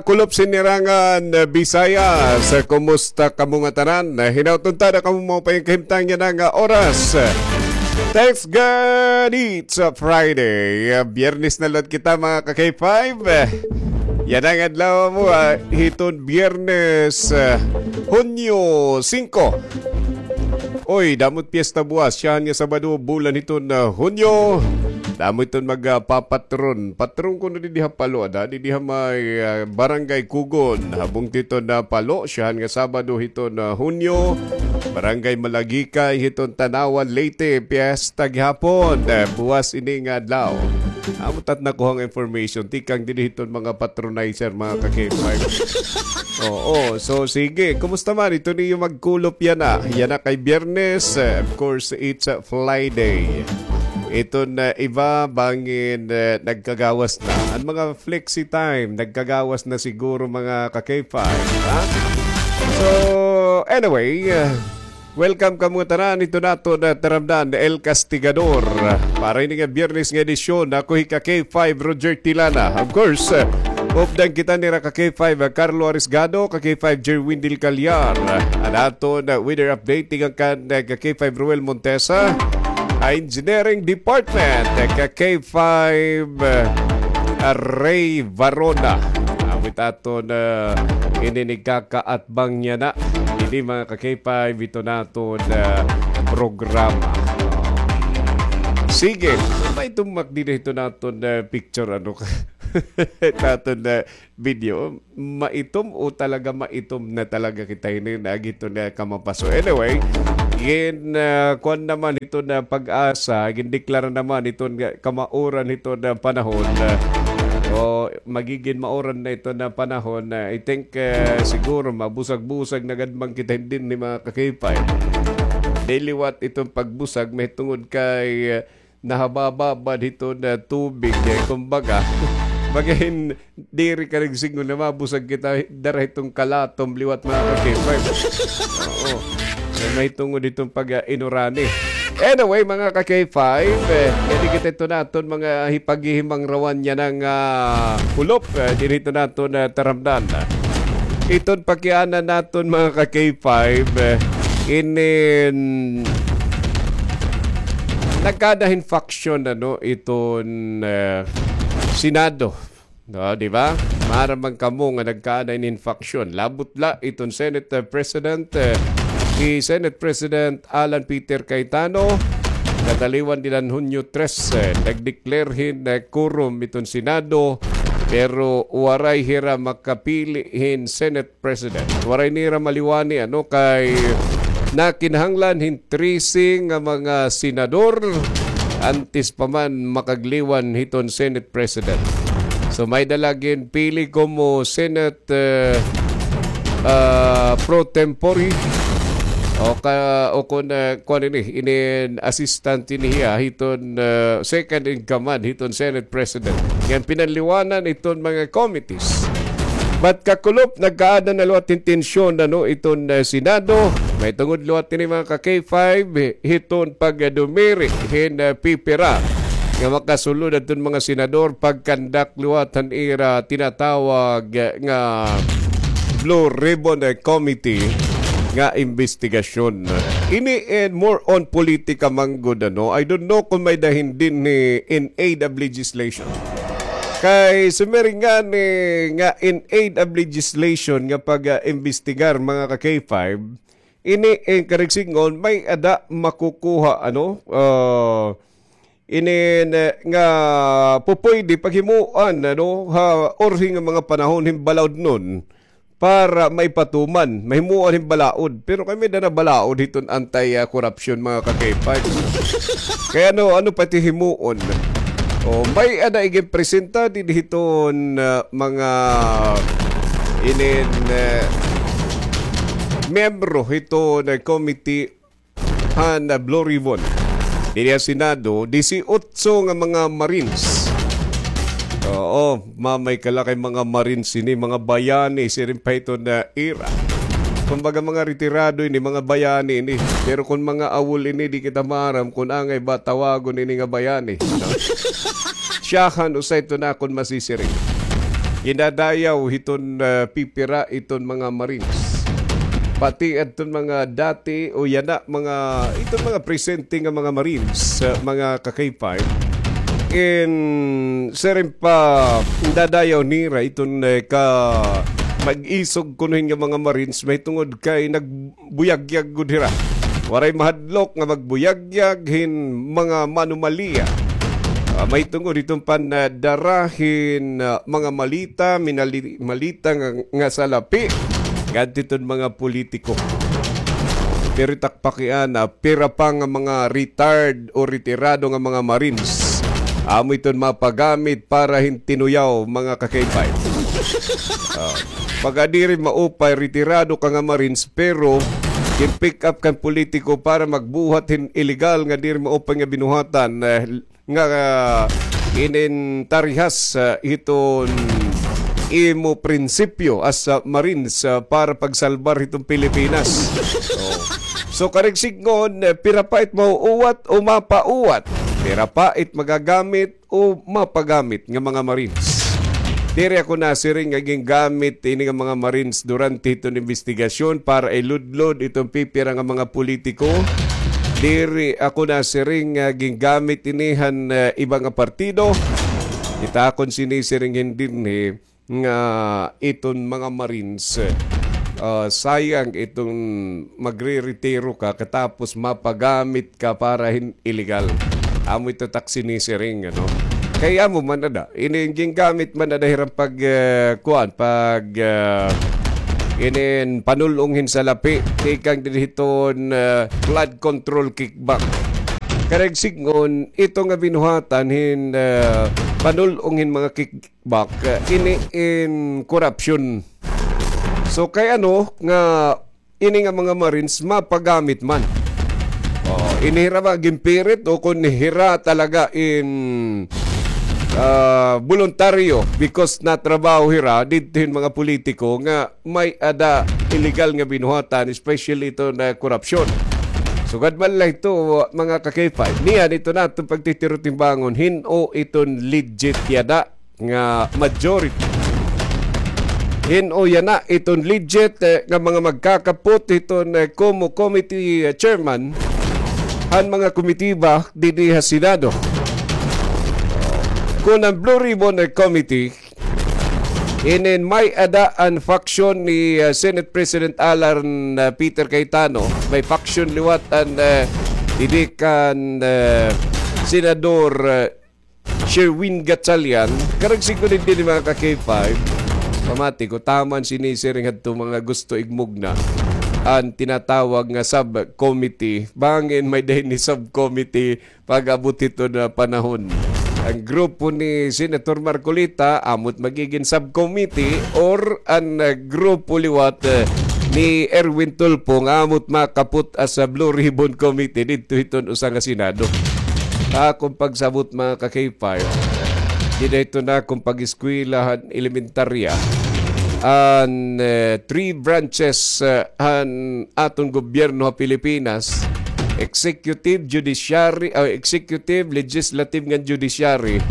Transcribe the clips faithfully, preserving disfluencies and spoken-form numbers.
Kulop Sinirangan, Visayas. Kumusta kamo ngatanan? Hinaot unta na kamo maupay nga kahimtang yana nga oras. Thanks God it's a Friday. Biyernes na liwat kita, mga ka-K five. Yana nga adlaw mo, ah, hiton Biyernes, ah, Hunyo singko. Oy, damo it piyesta buwas. Syahan nga Sabado, bulan hiton, ah, Hunyo. Damo iton magpapatron. Patron kuno didi ha Palo, ada? Didi ha may, ah, Barangay Kugon. Habong hiton, ah, Palo, syahan nga Sabado hiton, ah, Hunyo. Barangay Malagikay hiton Tanauan, Leyte, piyesta gihapon. Ah, buwas ini nga adlaw. Amo it at nakuha nga information. Tikang didi hiton mga patronizer, mga ka-K five. Oo, so sige. Kumusta man? Ito niyo magkulop yana. Yana kay Biyernes. Eh, of course, it's a Friday. Iton iba, bangin, eh, nagkagawas na. An mga flexi time, nagkagawas na siguro, mga ka-K five, ha? So, anyway, eh, welcome kamo tanan. Ito naton taramdan, El Castigador. Para ini nga Biyernes nga edisyon, ako hi ka-K five, Roger Tilana. Of course, eh, updan kita nira ka-K five, ah, Carlo Arisgado, ka-K five, Jerwin Del Callar. An aton, ah, weather update, tikang kan, ah, ka-K five, Ruel Montesa. Ah, Engineering Department, ah, ka-K five, ah, Ray Varona. Amo it aton, ah, ini ni kakaat bang yana. Ini, mga ka-K five, ito naton, ah, programa. Sige, may tumak din ito naton, ah, picture, ano ka? Ito aton, ah, video. Maitom o talaga maitom na talaga kita ini, nagito na kamapaso. Anyway, gin, ah, kuan naman ito na pag-asa, gindeklara naman ito nga kamauran ito na panahon, ah, o magigin mauran na ito na panahon. Ah, I think, ah, siguro mabusag-busag na gad man kita, hindi ni mga ka-K five. Di liwat itong pagbusag, may tungod kay, ah, nahababa ba dito na tubig, eh, kumbaga, baga hin-, diri ka nagsingon na mabusag kita, dara itong kalatom liwat, mga ka-K five. Oo. So, may tungod itong pag, ah, inurani. Anyway, mga ka-K five, eh, pwede kita ito naton mga hipaghihimang rawan niya ng, ah, kulop, eh, dito naton, ah, taramdan. Iton pakianan naton, mga ka-K five, eh, inin nagkada hin faction, ano, iton, eh, Senado. No, di ba? Maaram man kamo nga nagkada hin faction. Labot la iton Senate, eh, President, eh, hi Senate President Alan Peter Cayetano, kataliwan dida han Hunyo tres, eh, nag-declare hin, eh, quorum iton Senado, pero waray hira makapili hin Senate President. Waray nira maliwani, ano, kay nakinahanglan hin trese nga mga senador antes pa man makagliwan hiton Senate President. So, may-ada la ginpili komo Senate, eh, ah, pro tempore o ka, o kon, eh, kuan ini, inin assistant ini hiya hiton, eh, second in command hiton Senate President. Ngan pinanliwanan iton mga committees. But kakulop, nagkaada na liwat hin tensyon, ano, iton, eh, Senado. May tungod liwat ini, mga ka-K five, hiton pagdumiri hin, eh, pipira nga makasulod adton mga senador pagkandak liwat han ira tinatawag, eh, nga Blue Ribbon, eh, Committee nga investigasyon. Ini, eh, more on politika man gud, ano. I don't know kung may-ada hin dinhi in aid of legislation. Kay sumiring ngani nga in aid of legislation nga pag, ah, imbestigar, mga ka-K five, ini, eh, karigsingon, may-ada makukuha, ano, ah, ini na, nga pupuyde paghimuan, ano, ha orhi nga mga panahon hin balaod nun para maipatuman, mahimuan hin balaod. Pero kay may-ada na balaod hiton anti, ah, corruption, mga ka-K five. Kay ano, ano pa it himuon? O, may-ada iginpresenta didi hiton, ah, mga inin, ah, miyembro hiton, ah, committee han, ah, Blue Ribbon. Didi ha Senado, disiotso nga mga Marines. Oo, mamay ka la kay mga Marines ini, mga bayani, siring pa hiton ira. Kumbaga, mga retirado ini, mga bayani ini. Pero kon mga awol ini, di kita maaram kon angay ba tawagon ini nga bayani, no? Siyahan usa ito na kon masisiring. ginadayaw hiton, ah, pipira iton mga Marines. Pati adton mga dati o yana mga, iton mga presente nga mga Marines, ah, mga ka-K five. In siring pa, dadayaw nira iton, eh, ka mag-isog kuno hin nga mga Marines, mahitungod kay nagbuyagyag gud hira. Waray mahadlok nga magbuyagyag hin mga anomalya. Ah, mahitungod hiton pandara hin, ah, mga malita, minali-, malita nga, nga salapi ngadto hiton mga politiko. Pero it ak pakiana, pira pa nga mga retired o retirado nga mga Marines amo iton mapagamit para hin tinuyaw, mga ka-K five. Ah, pagka diri maupay, retirado ka nga Marines, pero gin-pick up kan politiko para magbuhat hin illegal nga diri maupay nga binuhatan, eh, nga, ah, inintarihas, ah, hiton imo prinsipyo as, ah, Marines, ah, para pagsalbar hiton Pilipinas. Oh. So, karuyag sidngon, eh, pira pa it mauuwat o mapauwat? Pira pa it magagamit o mapagamit nga mga Marines? Diri ako nasiring nga gingamit ini nga mga Marines durante hiton imbestigasyon para iludlod iton pipira nga mga politiko. Diri ako nasiring nga gingamit ini han, eh, iba nga partido. Kita kon sinisiring hin dinhi nga iton mga Marines, ah, sayang iton magreretiro ka katapos mapagamit ka para hin illegal. Amo ito it ak sinisiring, ano? Kay amo man ada, ini gingamit man ada hiram pag, eh, kuan, pag, eh, inin panul-ong hin salapi, tikang dinhi hiton, eh, flood control kickback. Karuyag sidngon, ito nga binuhatan hin, eh, panul-ong hin mga kick-, back, eh, ini in korupsyon. So, kay ano nga ini nga mga Marines mapagamit man? Oh, ini hira ba ginpirit o kon hira talaga in, ah, boluntaryo because natrabaho hira didto hin mga politiko nga may-ada illegal nga binuhatan, especially ito nga korupsyon. Sugad man la ito, mga ka-K five. Niyan ito naton pagtitirutimbangon, hin-o iton legit yada nga majority. Hin-o yana iton legit, eh, nga mga magkakapot hiton, eh, COMO committee, eh, chairman han mga komitiba dinhi ha Senado. Kon an Blue Ribbon, eh, Committee, inin may-ada an faction ni, ah, Senate President Alan, ah, Peter Cayetano. May faction liwat an, ah, didi kan, ah, Senador, ah, Sherwin Gatchalian. Karuyag sidngon dinhi, mga ka-K five, pamati ko, taman sinisiring hadto mga gusto igmugna an tinatawag nga subcommittee. Bangin may-ada ini subcommittee pag-abot hiton panahon. An grupo ni Senator Marcoleta, amo it magigin subcommittee or an, ah, grupo liwat, eh, ni Erwin Tulfo nga amo it makaput as a Blue Ribbon Committee didto hiton usa nga Senado. Ha akon pagsabot, mga ka-K five, dida hiton akon pag-eskwela han elementarya, an, eh, three branches, eh, han aton gobyerno ha Pilipinas, executive, judiciary, ah, executive, legislative, ngan judiciary.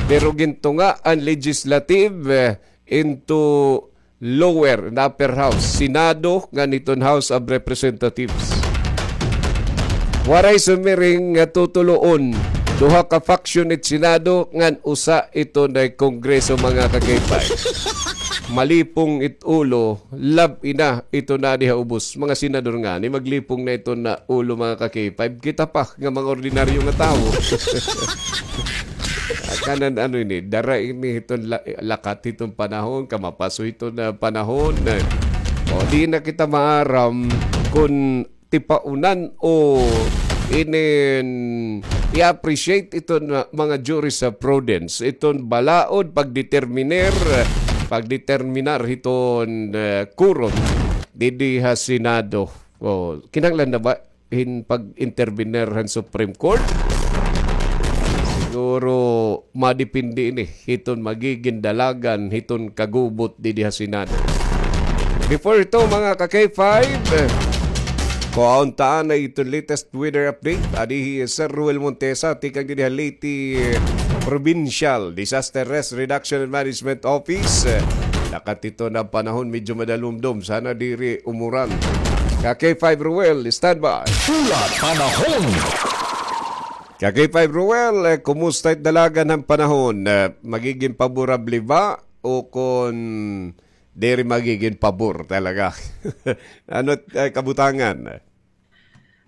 Pero gintunga an legislative, eh, into lower and upper house, Senado, ngan iton House of Representatives. Waray sumiring nga tutuloon, duha ka faction it Senado, ngan usa iton Kongreso, mga ka-K five. Malipong it ulo, lab-i na iton adi ha ubos. Mga senador ngani, maglipong na iton ulo, mga ka-K five. Kita pa nga mga ordinaryo nga tawo. Kanan ano ini, dara ini hiton la-, lakat hiton panahon, kamapaso hiton panahon. O, di na kita maaram kon tipaunan o inin i-appreciate iton mga jurisprudence, iton balaod pagdeterminer, pagdeterminar hiton, eh, quorum didi ha Senado. O, kinahanglan na ba hin pag-intervenir han Supreme Court? Siguro madepende ini hiton magigin dalagan hiton kagubot didi ha Senado. Before ito, mga ka-K five, kuhaon ta anay iton latest weather update. Adi hi Sir Ruel Montesa, tikang didi ha Leyte, Provincial Disaster Risk Reduction and Management Office. Eh, nakatito na panahon, medyo madalumdom. Sana diri umuran. Ka K five Ruel, standby. Pula panahon. Ka K five Ruel, eh, kumusta it dalagan han panahon? Eh, magiging paborable ba o kon diri magiging pabor talaga? Ano, eh, kabutangan?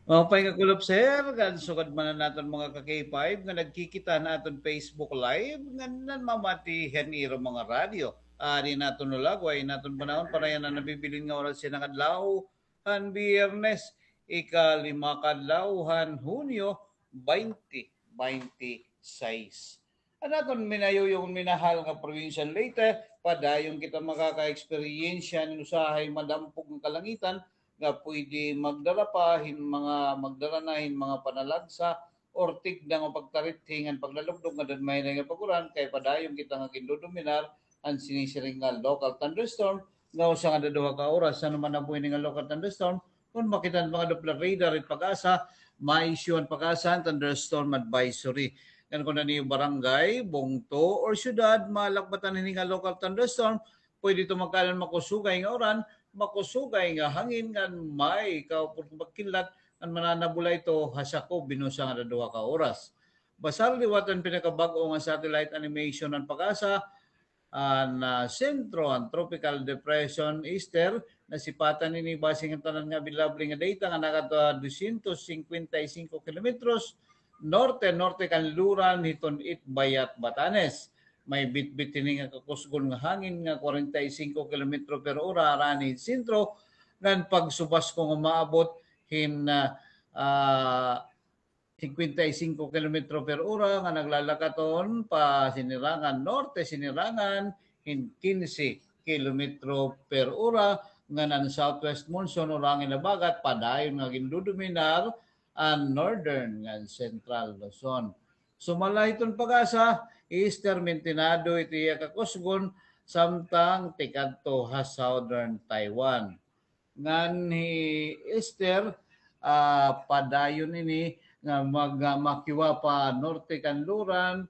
Maupay nga kulop, sir, kan sugad man an aton mga ka K five nga nagkikita han aton Facebook Live ngan nanmamati han ira mga radyo. Adi an aton lulagway, an aton panahon para yana nabibilin nga oras yana nga adlaw han Biyernes, ikalima ka adlaw han Hunyo, twenty twenty-six. An aton minayuyong minahal nga probinsya han Leyte, padayon kita makaka-eksperyensya hin usahay madampog nga kalangitan nga pwede magdara pa hin mga, magdara na hin mga panalagsa or tigda nga pagtarithi ngan paglalugdog ngan daw mahinay nga pag-uran, kay padayon kita nga gindodominar han sinisiring nga local thunderstorm nga usa ngada duha ka oras. Ano man nabuhi ini nga local thunderstorm, kon makita han mga Doppler radar it PAGASA, ma-issue an PAGASA hin thunderstorm advisory. Ngan kon an iyo barangay, bungto, or syudad malakbatan hini nga local thunderstorm, pwede ito magkaada hin makusugay nga uran, makusugay nga hangin ngan may kaupod nga pagkidlat ngan mananabula ito ha sakob hin usa ngada duha ka oras. Basar liwat an pinakabag-o nga satellite animation han PAGASA, an, ah, sentro han Tropical Depression Ester, nasipatan ini base han tanan nga available nga data nga nakadto ha dosyentos singkwenta y singko kilometros norte-norte kan Luran hiton Itbayat, Batanes. May bitbit hini nga kakusgon nga hangin nga kwarenta y singko kilometro per ora harani hin sentro, ngan pagsubasko nga umaabot hin, ah, ah, singkwenta y singko kilometro per ora nga naglalakaton pa sinirangan norte, sinirangan hin kinse kilometro per ora, ngan an southwest monsoon or hangin habagat padayon nga gindodominar an northern ngan central Luzon. Sumala hiton PAGASA, Ester, mintinado it iya kakusgon samtang tikadto ha southern Taiwan. Ngan hi Ester, ah, padayon ini nga mag-, ah, makiwa pa norte kan Luran,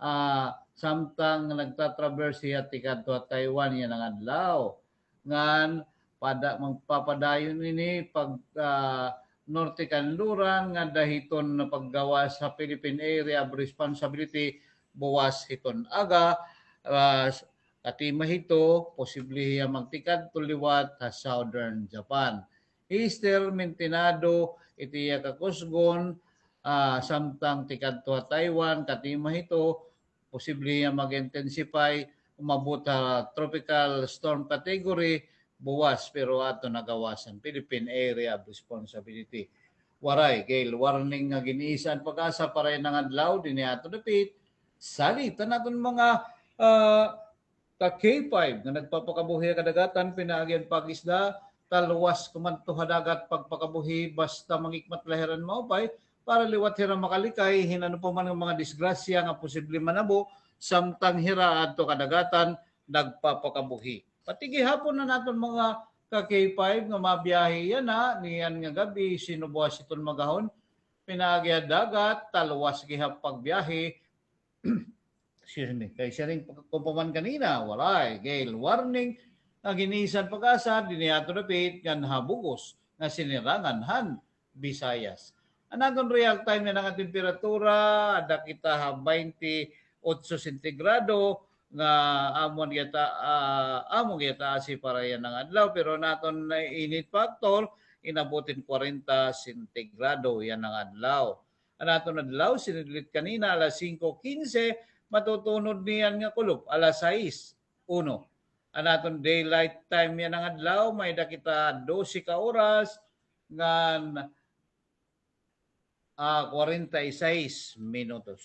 ah, samtang nagtatraverse hiya tikadto ha Taiwan yana nga adlaw. Ngan pada-, magpapadayon ini pag, ah, norte kan Luran ngada hiton paggawas ha Philippine Area of Responsibility buwas hiton aga, ah, katima hito, posible hiya magtikadto liwat ha southern Japan. Ester, mintinado it iya kakusgon, ah, samtang tikadto ha Taiwan, katima hito, posible hiya mag-intensify, umabot ha tropical storm category buwas, pero aton nagawasan Philippine Area of Responsibility. Waray gale warning nga gin-isa an PAGASA para yana nga adlaw dinhi ha aton dapit. Salit an aton mga, ah, ka K five nga nagpapakabuhi ha kadagatan, pinaagi an pag-isda, talwas kumadto ha dagat pagpakabuhi, basta mangikmat la hira hin maupay para liwat hira makalikay hin ano pa man nga mga disgrasya nga posible manabo samtang hira adto kadagatan nagpapakabuhi. Pati gihapon an aton mga ka K five nga mabiyahe yana niyan nga gab-i, sinubuas hiton magahon, pinaagi ha dagat, talwas gihap pagbiyahe, excuse me, kay siring pa, kon pa man kanina, waray gale warning nga gin-isa an PAGASA dinhi ha aton dapit ngan ha bug-os nga sinirangan han Visayas. An aton real time yana nga temperatura, ada kita ha baynte otso sentigrado, nga amo gihap, ah, amo gihap asi para yana nga adlaw, pero an aton init factor, inabot hin kwarenta sentigrado yana nga adlaw. An aton adlaw, sinidlit kanina, alas singko kinse, matutunod niyan nga kulop, alas sais, uno. An aton daylight time yana nga adlaw, may-ada kita dose ka oras, ngan, ah, kwarenta y sais minutos.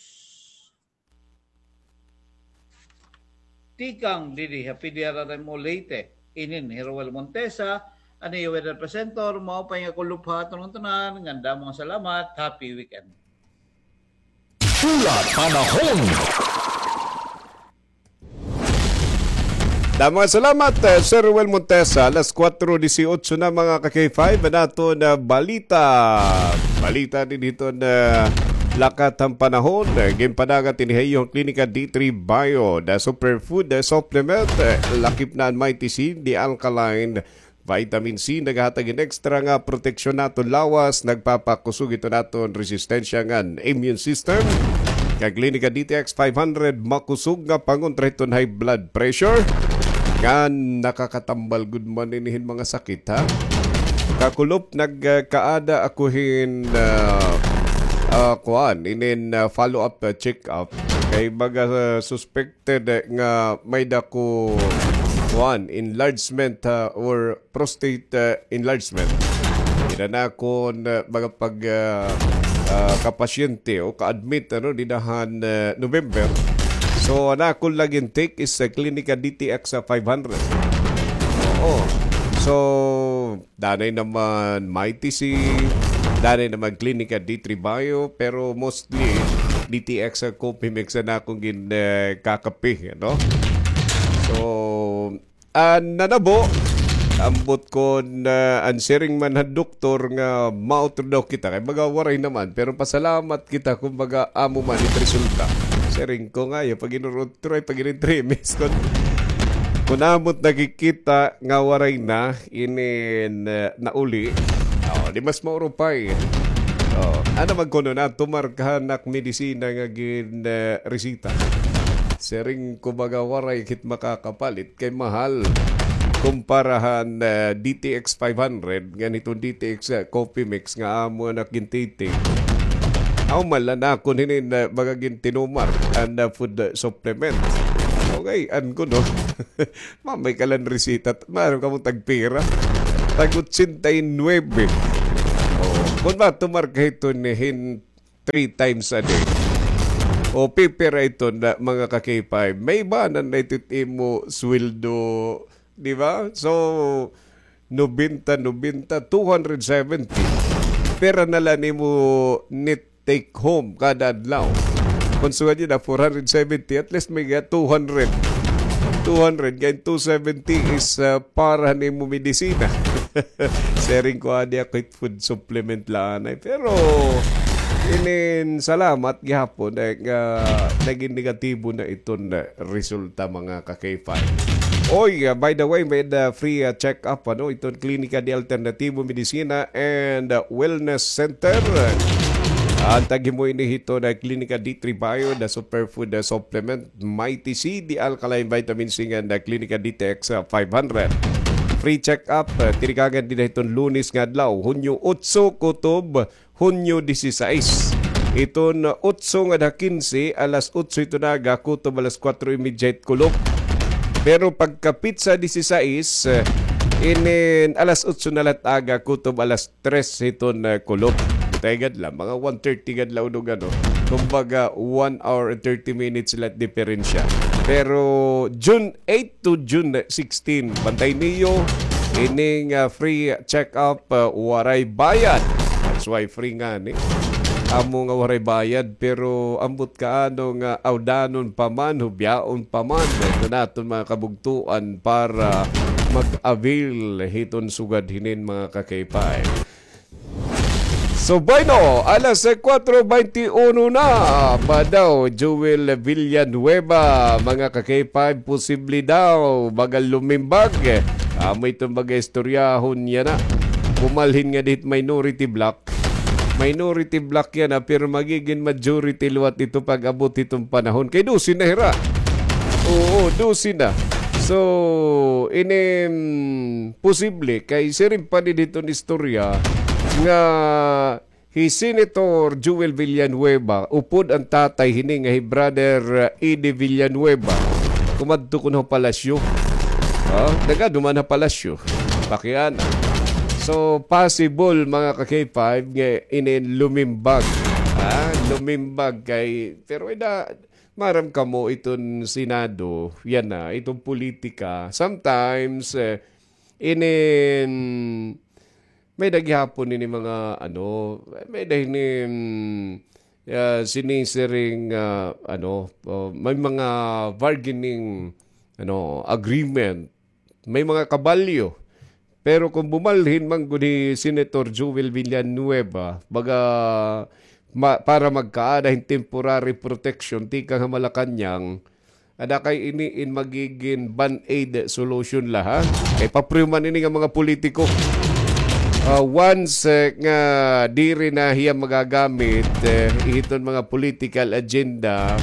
Tikang didi ha P D R R M O Leyte, inin hi Roel Montesa, an iyo weather presenter, maupay nga kulop ha aton ngatanan, ngan damo nga salamat, happy weekend. Pula panahon. Damo nga salamat, eh, Sir Roel Montesa. Alas kuwatro disiotso na, mga ka K five, an aton, ah, balita. Balita dinhi hiton, ah, lakat han panahon. Ginpadagat ini ha iyo han Klinika D three Bio, the superfood, the supplement, lakip na an Mighty C, the alkaline vitamin C, nagahatag hin extra nga proteksyon ha aton lawas, nagpapakusog hiton aton resistensya ngan immune system. Kag Klinika D T X five hundred, makusog nga pangontra hiton high blood pressure. Ngan nakakatambal gud man ini hin mga sakit, ha? Kakulop, nagkaada ako hin, ah, ah, kuan, inin, ah, follow-up, ah, check-up. Kay baga, ah, suspected, eh, nga may-ada ko, kuan, enlargement, ah, or prostate, ah, enlargement. Ina na akon, ah, mga pag, ah, ah, kapasyente o ka-admit, ano, dida han, ah, November. So, an akon la gin-take is sa Klinika D T X sa five hundred. Oo. So, danay naman Mighty C, danay naman Klinika D three Bio, pero mostly D T X sa coffee mix an akon gin, eh, kakape, ano? So, an nanabo, ambot kon, ah, an siring man han doktor nga mautro daw kita, kay baga waray naman, pero pasalamat kita kon baga amo man it resulta. Siring ko nga, ya, pag inurutro, ay pag inintremis, kon, kon amo it nakikita nga waray na, inin, ah, nauli. Oh, di mas maurupay. Oh, ano man kuno na, tumar ka han ak medisina nga gin, ah, resita. Siring ko baga waray kit makakapalit kay mahal. Kumpara han, ah, D T X five hundred, ngan hiton D T X, ah, coffee mix nga amo an ak gin-take. Aw, mala na akon hinin, ah, baga gintinumar an, ah, food, ah, supplement. Okay, an kuno. Mamay ka la hin resita. Maaram kamo tagpira? Tag-ochenta y nuebe. Oh, kon matumar ka hiton hin three times a day. O, pipira iton na, mga ka-K five. May-ada na ito it imo sweldo, di ba? So, nobenta, nobenta, two hundred seventy. Pira na la an imo net take home kada adlaw? Kon sugad niya na four hundred seventy, at least may ga two hundred. Two hundred, kay two seventy is, ah, para han imo medisina. Siring ko, adi ako it food supplement la anay. Pero, inin salamat gihapon, eh, nga nagin negatibo na iton, eh, resulta, mga ka-K five. Oy, ah, by the way, may-ada free, ah, check-up, ano, iton Klinika de Alternativo Medicina and, ah, Wellness Center. An tag-himo ini hiton Klinika D three Bio, the superfood, ah, supplement, Mighty C, the alkaline vitamin C, ngan Klinika D T X, ah, five hundred. Free check-up, ah, tinikagan dida hiton Lunes nga adlaw, Hunyo otso, kutob Hunyo disisais. Iton otso ngada kinse, alas otso iton aga, kutob alas kuwatro y medya hit kulop. Pero pagkapitsa disisais, eh, inin alas otso na la hit aga, kutob alas tres hiton, eh, kulop. Tay gad la, mga one thirty gad la, unog, ano. Kumbaga, one hour and thirty minutes la it diferensya. Pero June eight to June sixteen, bantay niyo, ining, ah, free check-up, ah, waray bayad. That's why free ngani. Amo nga waray bayad, pero ambot kaano nga awdanon pa man, hubyaon pa man, ito naton mga kabugtuan para mag-avail hiton sugad hinin, mga ka-K five. So, bueno, alas kuwatro beintiuno na. Ba daw, Joel Villanueva, mga ka-K five, posible daw, baga lumimbag. Amo iton baga istoryahon niya na. Bumalhin ngadi hit minority bloc. Minority bloc yana, pero magigin majority liwat ito pag-abot hiton panahon. Kay dose na hira. Oo, dose na. So, inin posible kay siring pa dida hiton istorya nga hi Senator Joel Villanueva, upod an tatay hini nga hi Brother, uh, Eddie Villanueva, kumadto kuno ha palasyo. Ha? Nagaduman ha palasyo. Pakiana. So, possible, mga ka-K five, nga inin lumimbag. Ha? Lumimbag kay, pero ida, maaram kamo iton Senado, yana, iton politika. Sometimes, eh, inin, may-ada gihapon ini mga, ano, may-ada ini, mm, ah, sinisiring, ah, ano, oh, may mga bargaining, ano, agreement, may mga kabalyo. Pero kon bumalhin man gud hi Senator Joel Villanueva, baga ma-, para magkaada hin temporary protection tikang ha Malacañang, ada kay ini in magigin band-aid solution la, ha? Kay papriyo man ini nga mga politiko. Ah, once, eh, nga diri na hiya magagamit, eh, hiton mga political agenda,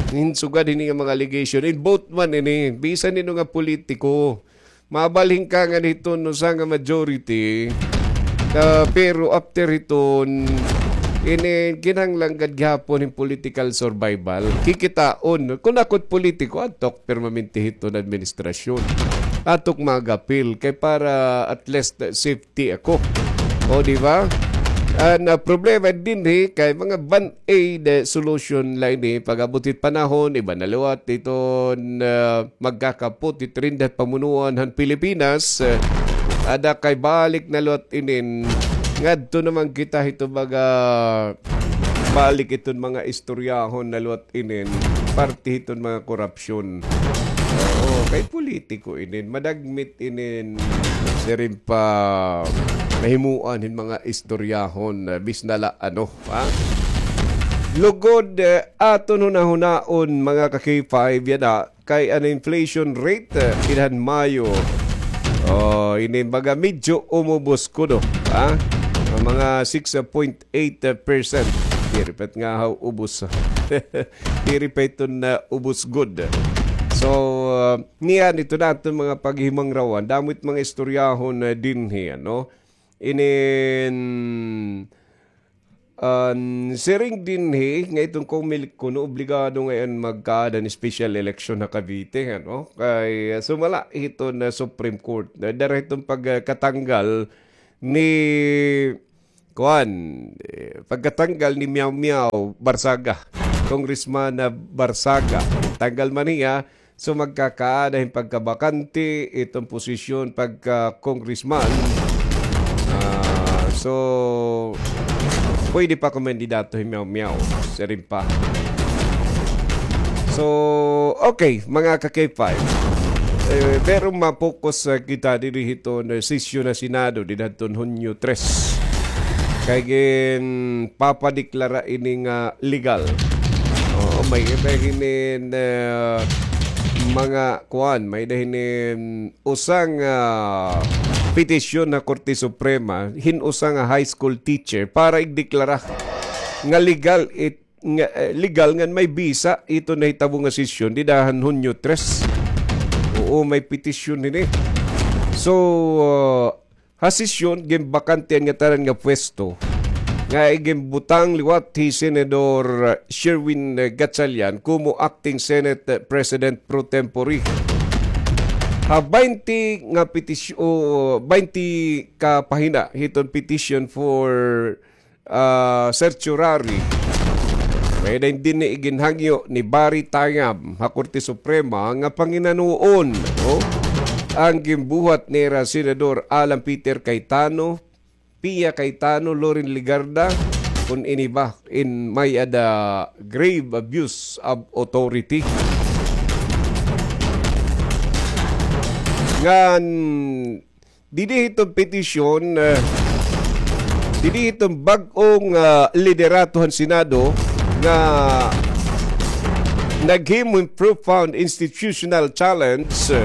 hin sugad hini nga mga allegation, in both man ini, bisan hin-o nga politiko, mabalhin ka nga hiton usa nga majority, ah, pero after hiton, ini kinahanglan gad gihapon hin political survival. Kikitaon, kun ako it politiko, adto ak permanente hiton administrasyon. Adto ak mag-apil, kay para at least, ah, safety ako. O, di ba? An, ah, problema dinhi kay mga band-aid, eh, solution la ini. Pag-abot hit panahon, iba na liwat iton, ah, magkakapot hit rindat pamunuan han Pilipinas. Eh, ada kay balik na liwat inin. Ngadto naman kita hito baga, balik iton mga istoryahon na liwat inin. Parte hiton mga korupsyon. Oo, kay politiko inin. Madagmit inin, siring pa, mahimuan hin mga istoryahon, eh, bis na la ano, ha? Lugod, eh, aton hunahunaon, mga ka-K five, yana, kay an inflation rate, eh, dinhan Mayo, oh, ini baga medyo umubos kuno, ha? An mga six point eight percent. Diri pa it nga haw ubos. Diri pa iton, ah, ubos gud. So, ah, niyan, ito na aton mga paghimangrawan. Damo it mga istoryahon, ah, dinhi, ano? Inin, an siring dinhi nga iton Comelec kuno obligado ngay-an magkaada hin special election ha Cavite, ano? Kay, ah, sumala hiton, ah, Supreme Court. Ah, dara hiton pagkatanggal ni kuan, eh, pagkatanggal ni Miao Miao Barzaga, Congressman na Barzaga. Tanggal man hiya, so magkakaada hin pagkabakante iton posisyon pagka-congressman. Ah, so, pwede pa kumandidato hi Miao Miao, siring pa. So, okay, mga ka-K five. Eh, pero ma-focus, ah, kita diri hiton, eh, sesyon ha Senado, dida hiton Hunyo tres. Kay ginpapadeklara ini nga legal. Oo, may iba hinin, eh, mga kuan, may-ada hinin usa nga petisyon ha Korte Suprema, hin usa nga high school teacher para igdeklara nga legal it nga, eh, legal ngan may bisa iton nahitabo nga sesyon dida han Hunyo tres. Oo, may petisyon hini. So, ah, ha sesyon, ginbakante an ngatanan nga pwesto nga iginbutang liwat hi Senador Sherwin, eh, Gatchalian komo acting Senate, eh, President pro tempore. Ha baynte nga petisy-, o, baynte ka pahina hiton petition for ah, certiorari. May-ada dinhi iginhangyo ni Barry Tayam ha Korte Suprema nga panginanuon, no? An ginbuhat nira Senador Alan Peter Cayetano, Pia Cayetano, Loren Legarda, kun ini ba in may-ada grave abuse of authority. Ngan didi hiton petisyon, eh, didi hiton bag-ong, ah, liderato han Senado nga naghimo hin profound institutional challenge, eh,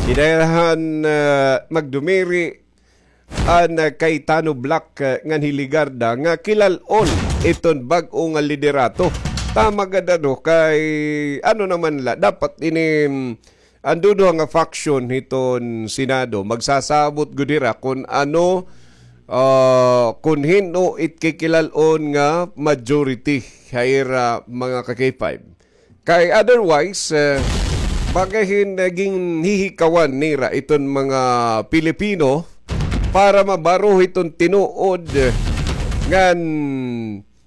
dida han, eh, magdumiri an, eh, Cayetano bloc, eh, ngan hi Legarda nga kilal-on iton bag-o nga liderato. Tama gad ano, kay ano naman la, dapat ini, mm, an duduha nga faction hiton Senado, magsasabot gud hira kun ano, ah, kun hin-o it kikilal-on nga majority ha ira mga ka-K five. Kay otherwise, eh, baga hin, eh, ginhihikawan nira iton mga Pilipino para mabaro hiton tinuod, eh, ngan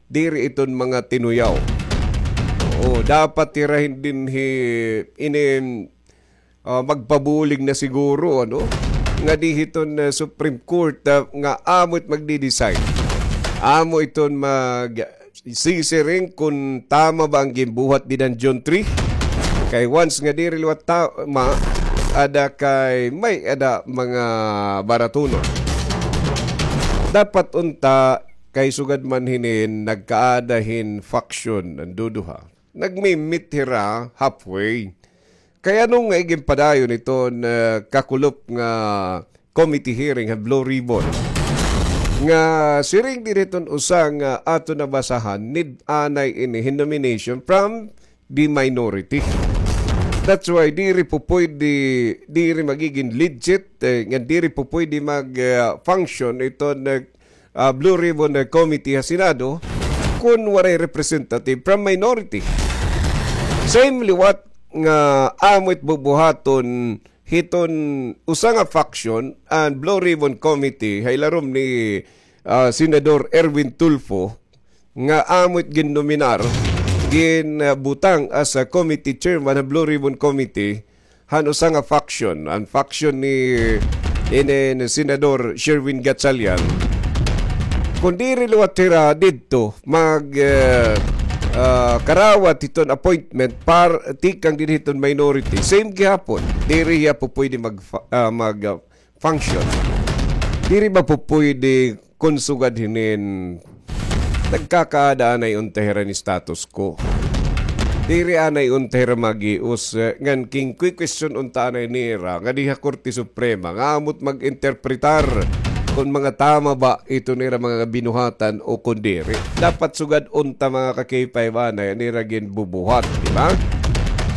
diri iton mga tinuyaw. Oo, dapat hira hin dinhi ini, ah, magpabulig na siguro, ano? Ngadi hiton, ah, Supreme Court, ah, nga amo it magdi-decide. Amo iton magsisiring kun tama ba an ginbuhat dida han June three. Kay once nga diri liwat tama, ada kay may-ada mga baratunon. Dapat unta kay sugad man hinin nagkaada hin faction an duduha. Nagmi-meet hira halfway. Kay ano nga iginpadayon iton kakulop nga committee hearing ha Blue Ribbon? Nga siring diri iton usa nga aton nabasahan, need anay ini hin nomination from the minority. That's why diri po pwede, diri magiging legit, eh, nga diri po pwede mag, ah, function iton, eh, ah, Blue Ribbon, eh, Committee ha Senado kun waray representative from minority. Same liwat nga amo it bubuhaton hiton usa nga faction an Blue Ribbon Committee ha ilarom ni, ah, Senador Erwin Tulfo, nga amo it ginnominar, ginbutang as a committee chairman ha Blue Ribbon Committee han usa nga faction, an faction ni, ni, ni Senador Sherwin Gatchalian. Kun diri liwat hira didto mag, eh, ah, karawat hiton appointment par tikang dinhi hiton minority, same gihapon, diri hiya po pwede mag, ah, mag, ah, function. Diri ba po pwede kun sugad hinin nagkakaada anay unta hira hin status quo? Diri anay unta hira maghius, eh, ngan king kwi-question unta anay nira ngadi ha Korte Suprema nga amo it mag-interpretar kun mga tama ba iton ira mga binuhatan o kun diri. Dapat sugad unta, mga ka-K five, anay an ira ginbubuhat, di ba?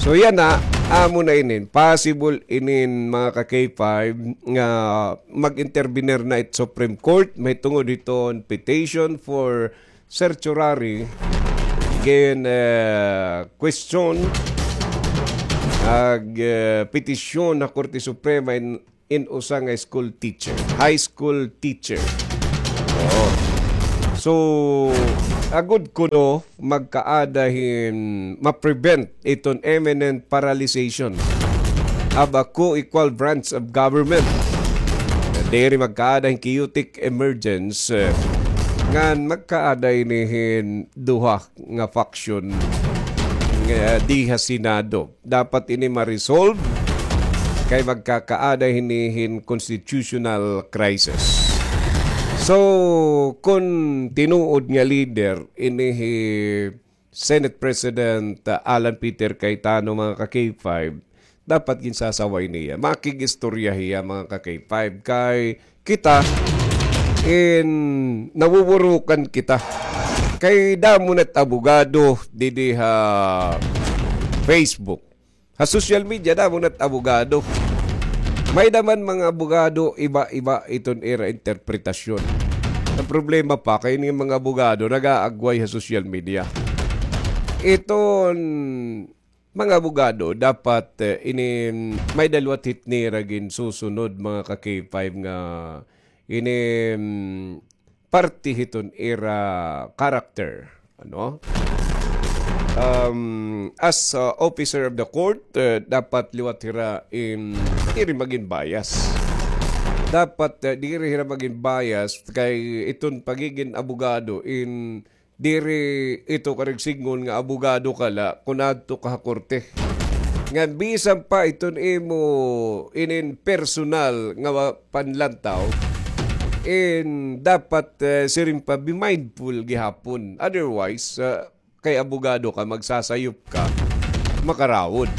So yana, amo na inin, possible inin, mga ka-K five, nga mag-intervenir na it Supreme Court mahitungod hiton petition for certiorari, gin, eh, question, ag, eh, petisyon ha Korte Suprema in, in usa nga school teacher, high school teacher. Oo. So, agod kuno magkaada hin ma-prevent iton imminent paralyzation of a co-equal branch of government. Diri magkaada hin chaotic emergence, eh, ngan magkaada ini hin duha nga faction nga di ha Senado. Dapat ini ma-resolve kay magkakaada hini hin constitutional crisis. So, kun tinuod nga leader ini hi Senate President, ah, Alan Peter Cayetano, mga ka-K five, dapat ginsasaway niya. Makig-istorya hiya, mga ka-K five, kay kita in nawuwurukan kita. Kay damo na't abogado didi ha Facebook. Ha social media, damo na't abogado. May-ada man mga abogado, iba-iba iton ira interpretasyon. An problema pa, kay ini mga abogado nag-aagway ha social media. Iton mga abogado, dapat, eh, ini may-ada liwat hit nira ginsusunod, mga ka-K five, nga ini, mm, parte hiton ira character, ano? Um, as, uh, officer of the court, eh, dapat liwat hira in diri magin bias. Dapat, eh, diri hira magin bias kay iton pagigin abogado in diri ito karigsidngon nga abogado ka la kun adto ka ha korte. Ngan bisan pa iton imo inin personal nga wa-, panlantaw, in dapat, eh, siring pa, be mindful gihapon. Otherwise, ah, kay abogado ka, magsasayop ka, makarawod.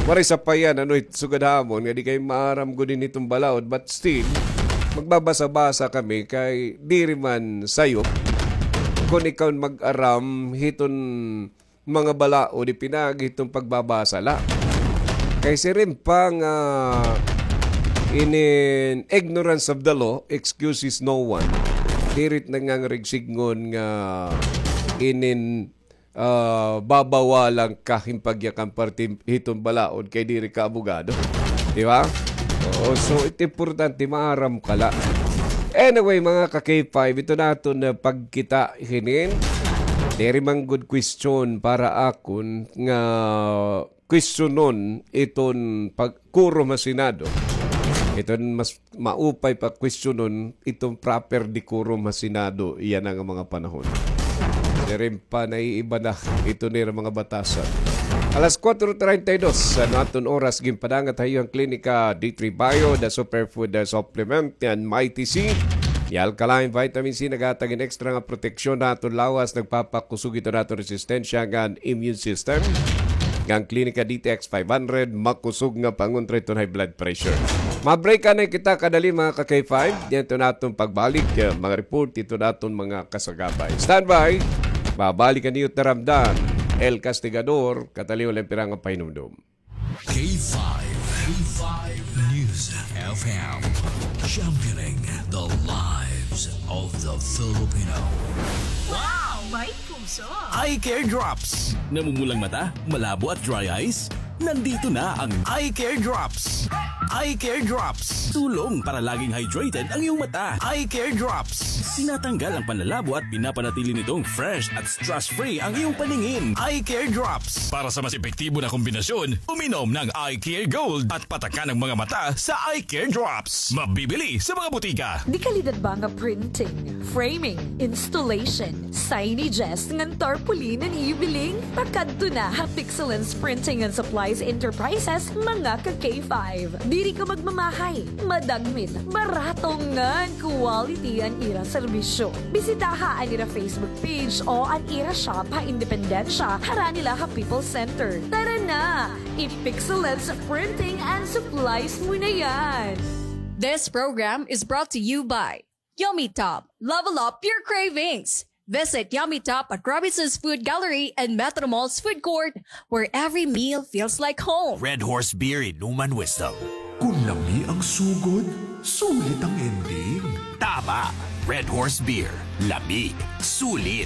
Waray sapayan, ano, it sugad ha amon nga di kay maaram gud ini hiton balaod, but still, magbabasa-basa kami kay diri man sayop kun ikaw mag-aram hiton mga balaod, di pinaagi hiton pagbabasa la. Kay siring pa nga inin ignorance of the law excuses no one. Diri it nangangarigsidngon nga inin ah, babawalan ka hin pagyakan parte hiton balaod kay diri ka abogado. Di ba? Oo, so it importante, maaram ka la. Anyway, mga ka-K five, ito naton na pagkita hinin. Diri man gud question para akon nga questionon iton pag-, quorum ha Senado. Iton mas maupay pa questionon iton proper decorum ha Senado yana nga mga panahon. Siring pa, naiiba na iton nira mga batasan. Alas kuwatro treinta y dos an aton oras, ginpadangat ha iyo an Klinika D three Bio, the superfood, the supplement, and Mighty C. Ni alkaline vitamin C naghatag hin extra nga proteksyon ha aton lawas, nagpapakusog ito ha aton resistensya ngan immune system. Ngan Clinica D T X five hundred, makusog nga pangontra iton high blood pressure. Ma-break anay kita kadali, mga ka-K five. Didto na aton pagbalik, eh, mga report iton aton mga kasagabay. Standby. Mabalik an iyo taramdan, El Castigador, kataliwan la hin pira nga pahinumdom. K five, K five News F M, championing the lives of the Filipino. Wow! May puso! Eye Care Drops. Namumulang mata, malabo at dry eyes? Nandito na ang Eye Care Drops. Eye Care Drops. Tulong para laging hydrated ang iyong mata. Eye Care Drops. Tinatanggal ang panlalabo at pinapanatili nitong fresh at stress-free ang iyong paningin. Eye Care Drops. Para sa mas epektibo na kombinasyon, uminom ng Eye Care Gold at patakan ang mga mata sa Eye Care Drops. Mabibili sa mga butika. De kalidad ba nga printing, framing, installation, signages ngan tarpaulin an iyo biling? Pakadto na ha Pixelens Printing and Supplies Enterprises, mga ka-K five. Diri ka magmamahay, madagmit, barato ngan quality an ira serbisyo. Bisitaha an ira Facebook page o an ira shop ha Independencia, harani la ha People's Center. Tara na! I-Pixelens Printing and Supplies mo na yan! This program is brought to you by Yummy Top. Level up your cravings. Visit Yummy Top at Robinson's Food Gallery and Metro Mall's Food Court, where every meal feels like home. Red Horse Beer, inuman wisdom. Kun lami ang sugod, sulit ang ending. Tama! Red Horse Beer. Lami. Sulit.